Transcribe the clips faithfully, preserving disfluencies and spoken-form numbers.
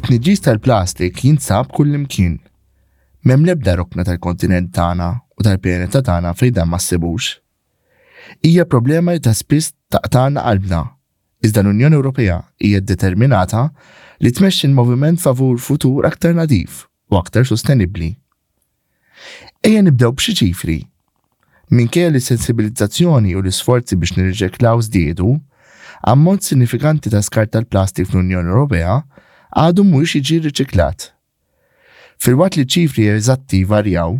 It-tniġġis tal-plastik jinsab kullimkien. M'hemm l-ebda rokna tal-kontinent tagħna u tal-pjaneta tagħna fejn dan ma ssibux. Hija problema li ta' spiss taqtagħna qalbna, iżda l-Unjoni Ewropea hija determinata li tmexxi l-moviment favur futur aktar nadif u aktar sostenibbli. Ejja nibdew b'xi ċifri. Minkejja li sensibilizzazzjoni u l-isforzi biex nirriċiklaw żdiedu, ammont sinifikanti ta' skart tal-plastik fl-Unjoni Ewropea għadu mhuwiex jiġi riċiklat. Filwaqt li ċifri eżatti varjaw,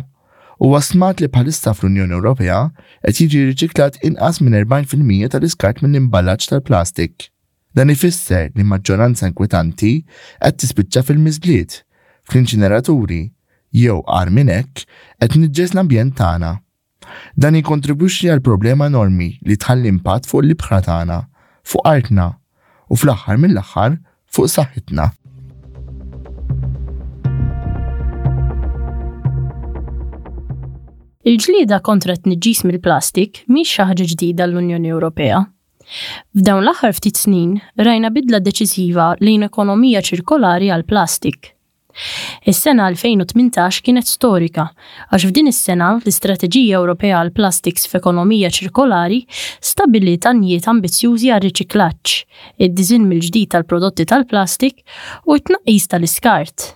huwa stmat li bħalissa fl-Unjoni Ewropea qed jiġi riċiklat inqas minn erbgħin fil-mija tal-iskart mill-imballaġġ tal-plastik. Dan ifisser li maġġoranza inkwetanti qed tispiċċa fil-miżbliet, fl-inċineraturi, jew agħar minn hekk qed tniġġes l-ambjent tagħna. Dan jikkontribwixxi għal problema enormi li tħalli impatt fuq l-ibħra tagħna, fuq artna u fl-aħħar mill-aħħar fuq saħħitna. Il-ġlieda kontra t-tniġġis mill-plastik mhix xi ħaġa ġdida l-Unjoni Ewropea. F'dawn l-aħħar ftit snin rajna bidla deċiżiva lejn ekonomija ċirkolari għall-plastik. Is-sena elfejn u tmintax kienet storika għax f'din is-sena l-Istrateġija Ewropea għall-Plastiks f'Ekonomija Ċirkolari stabbiliet għanijiet ambizzjużi għar-riċiklaġġ, id-diżinn mill-ġdid tal-prodotti tal-plastik u t-tnaqqis tal-iskart.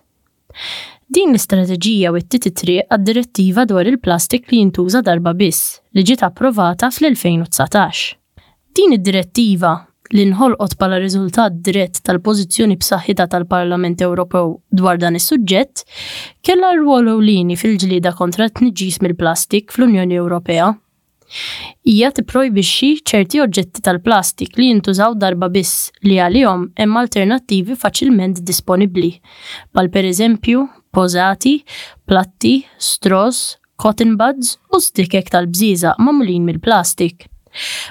Din l-istrateġija wittiet it-triq għad-direttiva dwar il-plastik li jintuża darba biss li ġiet approvata fl-elfejn u dsatax. Din id-direttiva, li nħolqot bħala riżultat dirett tal-pożizzjoni b'saħħitha tal-Parlament Ewropew dwar dan is-suġġett, kellha rwol ewlieni fil-ġlieda kontra t-tniġġis mill-plastik fl-Unjoni Ewropea. Hija tipprojbixxi ċerti oġġetti tal-plastik li jintużaw darba biss li għalihom hemm alternattivi faċilment disponibbli, bħal pereżempju pożati, platti, straws, cotton buds u stikek tal-bżieżaq magħmulin mill-plastik.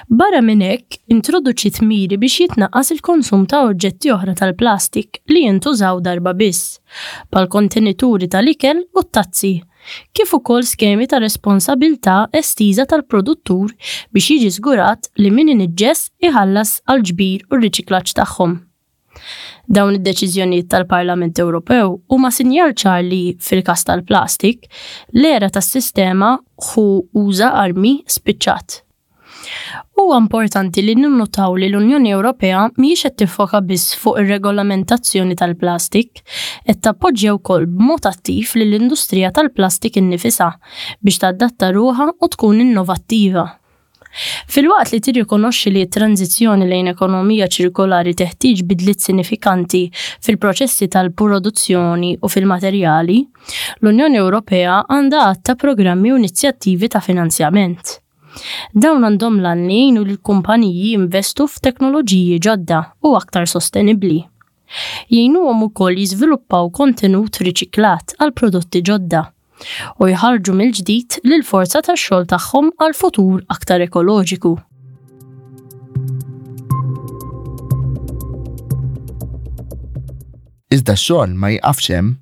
Barra minn hekk, introduċiet miri biex jitnaqqas il-konsum ta' oġġetti oħra tal-plastik li jintużaw darba biss, bħal kontenituri tal-ikel u t-tazzi, kif ukoll skemi ta' responsabilità estiża tal-produttur biex jiġi żgurat li min iniġġes iħallas għall-ġbir u r-riċiklaġġ tagħhom. Dawn id-deċiżjonijiet tal-Parlament Ewropew huma sinjal ċar li, fil-każ tal-plastik, l-era tas-sistema ħu uża armi spiċċat. Huwa importanti li ninnutaw li l-Unjoni Ewropea mhijiex qed tiffoka biss fuq ir-regolamentazzjoni tal-plastik, qed tappoġġja wkoll b'mod attiv lill-industrija tal-plastik innifisha biex tadatta ruħha u tkun innovattiva. Filwaqt li tirrikonoxxi li t-tranżizzjoni lejn ekonomija ċirkolari teħtieġ bidliet sinifikanti fil-proċessi tal-produzzjoni u fil-materjali, l-Unjoni Ewropea għandha għadd ta' programmi u inizjattivi ta' finanzjament. Dawn għandhom l-għan li jgħinu lill-kumpaniji jinvestu f'teknoloġiji ġodda u aktar sostenibbli. Jgħinuhom ukoll jiżviluppaw kontenut riċiklat għal prodotti ġodda u jħarġu mill-ġdid lill-forza tax-xogħol tagħhom għal futur aktar ekoloġiku. Iżda x-xogħol ma jiqafx hemm.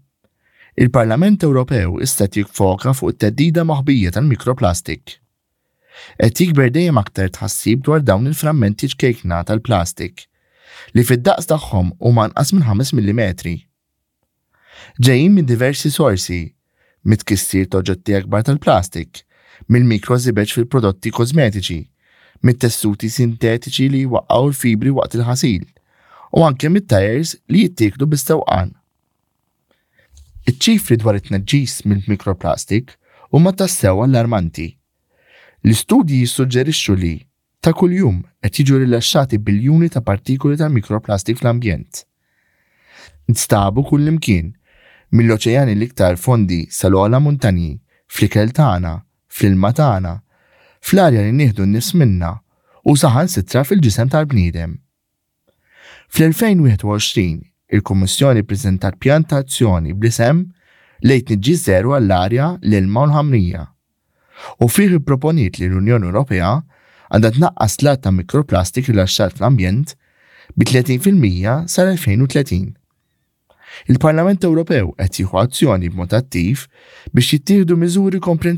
Il-Parlament Ewropew issa qed jiffoka fuq it-theddida moħbija tal-mikroplastik. Qed jikber dejjem aktar tħassib dwar dawn il-frammenti ċkejkna tal-plastik li fid-daqs tagħhom huma anqas minn ħames millimetri. Ġejjin minn diversi sorsi, mit-tkissir ta' oġġetti akbar tal-plastik, mill-mikrożibeġ fil-prodotti kosmetiċi, mit-tessuti sintetiċi li jwaqqgħu l-fibri waqt il-ħasil, u anke mit-tajers li jittieklu bis-sewqan. Iċ-ċifri dwar it-tniġġis mill-mikroplastik huma tassew allarmanti. L-istudji jissuġġerixxu li ta' kuljum qed jiġu rilaxxati biljuni ta' partikoli tal-mikroplastik fl-ambjent. Nstabu kullimkien, mill-oċeani l-iktar fondi sal-ogħla muntanji, fl-ikel tagħna, fl-ilma tagħna, fl-arja li nieħdu n-nifs minna u saħansitra fil-ġisem tal-bniedem. Fl-elfejn wieħed u għoxrin, il-Kummissjoni ppreżentat pjan ta' azzjoni bl-isem Lejn Tniġġis Żero għall-Arja, l-Ilma u l-Ħamrija. U fih ipproponiet li l-Unjoni Ewropea għandha tnaqqas l-għadd ta' mikroplastik rilaxxat fl-ambjent bi tletin fil-mija sal-elfejn u tletin. Il-Parlament Ewropew qed jieħu azzjoni b'mod attiv biex jittieħdu miżuri komprensivi